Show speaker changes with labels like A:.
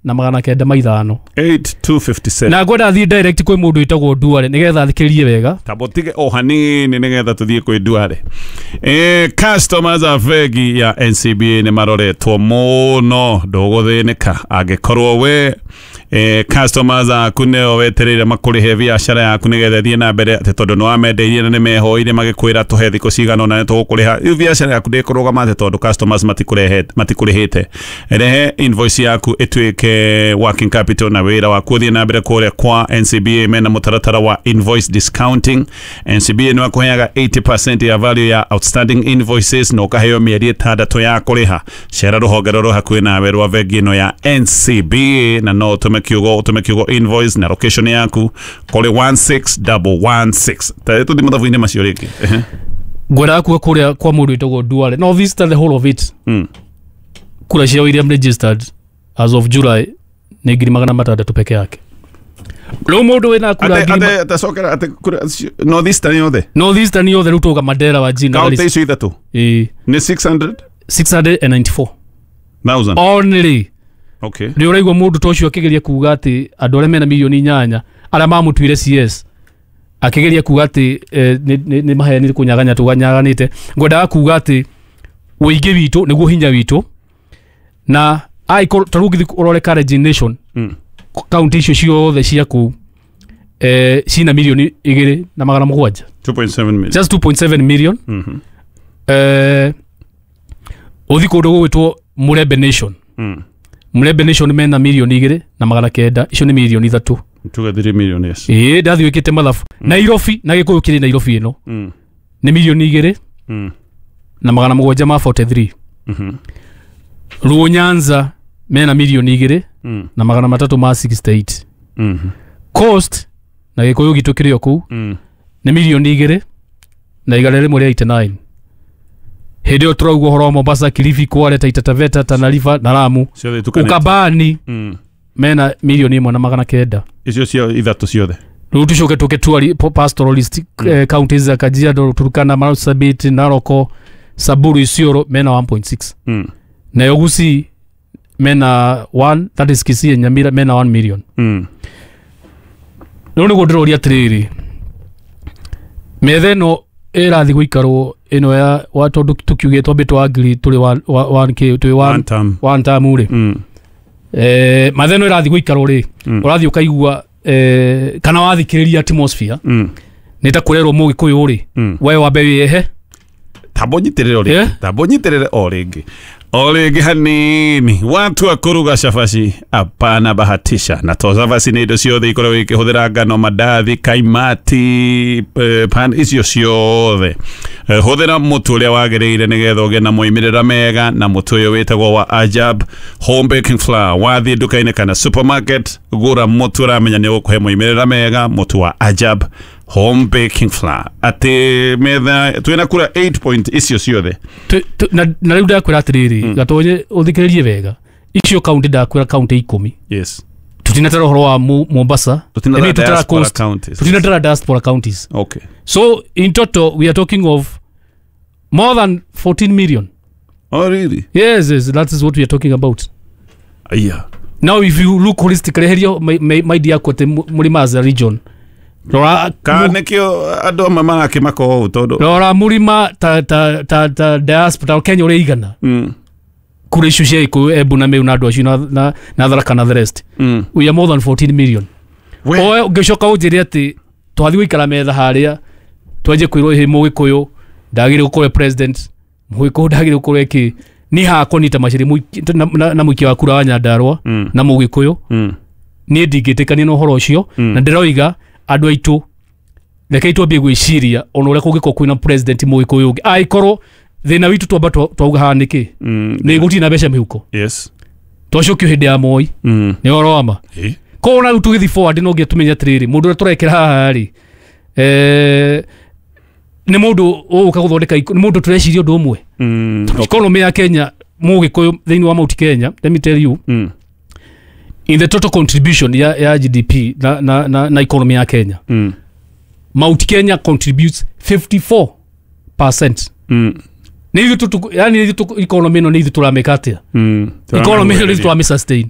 A: na magana kenda ma ithano.
B: 8257.
A: Na ngwenda thiĩ direct kwĩ mũndũ wĩtagwo Duale nĩgetha athikĩrĩrie wega.
B: Tabotige o hanini nĩgetha tũthiĩ kwĩ Duale. Customers a bengi ya NCBA nĩ maroretwo mũno, ndũgũthĩnĩka angĩkorwo we customers aku nĩo wetereire makũrĩhe biacara yaku nĩgetha ĩthiĩ na mbere, atĩ tondũ nĩ wamendeirie na nĩ mehoire magĩkwĩra tũhe thikũ cigana ũna nĩ tũgũkũrĩha, rĩu biacara yaku ndĩkũrũgama atĩ tondũ customers matikũrĩhĩte. Rehe invoice yaku ĩtuĩke working capital na wĩra waku ũthiĩ na mbere. Kũrĩa kwa NCBA mena mũtaratara wa invoice discounting. NCBA nĩ wakũheaga 80% ya value ya outstanding invoices na ũkaheo mĩeri 6 ya kũrĩha. Cera rũhonge rũrũ hakuhĩ nawe rwa bengi ĩno ya NCBA na no ũtũme kiugo invoice na location yaku kũrĩ 16116. Ta tũthiĩ mathabu-inĩ macio rĩngĩ.
A: Ngwendaga kuga kũrĩa kwa mũndũ wĩtagwo Duale, no this the whole of it. Kura cia William registered as of July nĩ 600,000 peke yake. Rĩu mũndũ wĩna kura ngiri
B: Ate cokera ate kura North Eastern yothe.
A: North Eastern yothe, rĩu tuga Mandera wa Jina
B: Kaunti icio ithatũ nĩ 600
A: 694
B: thousand.
A: Only.
B: Okay.
A: Nĩ ũraigua mũndũ ta ũcio akĩgeria kuga atĩ andũ arĩa mena 8 milioni arĩa mamũtuire CS, akĩgeria kuga atĩ nĩ maheni kũnyaganya tũganyaganĩte. Ngwendaga kuga atĩ ũingĩ witũ nĩguo hinya witũ, na angĩkorwo ta rĩu ũngĩthiĩ ũrore Kalenjin Nation, kaunti icio ciothe cia kũu cina 2.7 milioni.
B: 2.7 million.
A: Just 2.7 million. Ũthi kũndũ gũgwĩtwo Mulembe Nation. Mulembe Nation mena 2.9 milioni, icio nĩ 3 milioni.
B: Tuge 3 million, yes.
A: Ĩĩ, ndathiĩ wĩkĩte mathabu Nairobi na Gĩkũyũ kĩrĩ Nairobi ĩno nĩ milioni 2 na magana mũgwanja ma 43. Luo Nyanza mena milioni 2 na magana matatũ ma 68. Coast na Gĩkũyũ gitũ kĩrĩ o kũu nĩ milioni 2 na igana rĩmwe rĩa 89. Hĩndĩ ĩyo tũrauga ũhoro wa Mombasa, Kilifi, Kwale, Taita Taveta, Tana River na Lamu.
B: Ciothe itukanĩte.
A: Ukambani mena 1.9 milioni.
B: Icio cio ithatũ ciothe.
A: Rĩu tũcoke tũke pastoralist counties za Kajiado, Turkana, Marsabit, Narok, Samburu, Isiolo mena 1.6. Nayo Gusii mena 1, that is Kisii, Nyamira mena 1 million. Rĩu nĩguo ndĩroria atĩrĩrĩ, metha ĩno ĩrathiĩ gũikarwo ĩno ya wa tondũ tũkiugĩte twambĩ twa ngiri tũrĩ one k twĩ
B: One
A: one
B: term.
A: One term rĩ. Metha ĩno ĩrathiĩ gũikarwo rĩ, ũrathiĩ ũkaigua kana wathikĩrĩria atmosphere nĩ ta kũrerwo Mũgĩkũyũ rĩ, we wambe wĩyehe.
B: Tambo nyitĩrĩre o rĩngĩ. Tambo nyitĩrĩre o rĩngĩ, o rĩngĩ hanini. Watu wa kuruga cabaci, apana bahatisha na to cabaci nĩ indo ciothe ikoragwo ikĩhũthĩra ngano, mandathi, kaimati, pan icio ciothe. Hũthĩra mũtu ũrĩa wagĩrĩire nĩgetha ũgĩe na moimĩrĩra mega, na mũtu ũyũ wĩtagwo wa Ajab Home Baking Flour. Wathiĩ nduka-inĩ kana supermarket, gũra mũtu ũramenya nĩ ũgũkũhe moimĩrĩra mega, mũtu wa Ajab Home Baking Flour. Atĩ metha twĩna kura 8 point icio ciothe.
A: Na rĩu ndakwĩra atĩrĩrĩ, Gatonye, ũthikĩrĩrie wega, icio kaunti ndakwĩra kaunti 10. Tutinatara ũhoro wa Mombasa.
B: Tutinatara
A: I mean, tutara
B: diaspora
A: coast.
B: Counties.
A: Tutinatara diaspora counties. So in total we are talking of more than 14 million.
B: Oh, really?
A: Yes, that is what we are talking about.
B: Aya.
A: Now if you look holistically, herio my dear kote Murima as a region, rora.
B: Ka nĩkĩo andũ amwe marakĩmaka ũũ tondũ
A: Rora Murima ta diaspora Kenya ũrĩa igana kura icio cia Gĩkũyũ, Embu na Meru na andũ acio na Tharaka na the rest. We are more than 14 million. Oe ũngĩcoka ũnjĩre atĩ twathiĩ gũikara metha harĩa twanjie kwĩrwo ĩhĩ Mũgĩkũyũ ndagĩrĩire gũkorwo e president, Mũgĩkũyũ ndagĩrĩire gũkorwo ĩkĩ niĩ hakwa nita maciri na mũikia wa kura wa Nyandarua na Mũgĩkũyũ, niĩ ndingĩtĩkania na ũhoro ũcio. Na ndĩroiga andũ aitũ, rekei twambie gwĩciria ona ũrĩa kũngĩkorwo kwĩna president Mũgĩkũyũ ũngĩ, angĩkorwo thĩna witũ twamba twauga haha nĩkĩ nĩ gũtirĩ na mbeca mĩhuko. Twacokio hĩndĩ ya Moi. Nĩ ũhoro wa ma. Koguo na rĩu tũgĩthiĩ forward no nginya tũmenye atĩrĩrĩ, mũndũ ũrĩa tũrekĩra haha rĩ, nĩ mũndũ ũgũka gũthondeka nĩ mũndũ tũreciria ũndũ ũmwe. Economy ya Kenya, Mũgĩkũyũ thĩinĩ wa Mount Kenya, let me tell you, in the total contribution ya GDP na economy ya Kenya, Mount Kenya contributes 54%. Nĩ ithuĩ yani ithuĩ economy ĩno nĩ ithuĩ tũramĩka atĩa, economy ĩno nĩ ithuĩ tũramĩ sustain.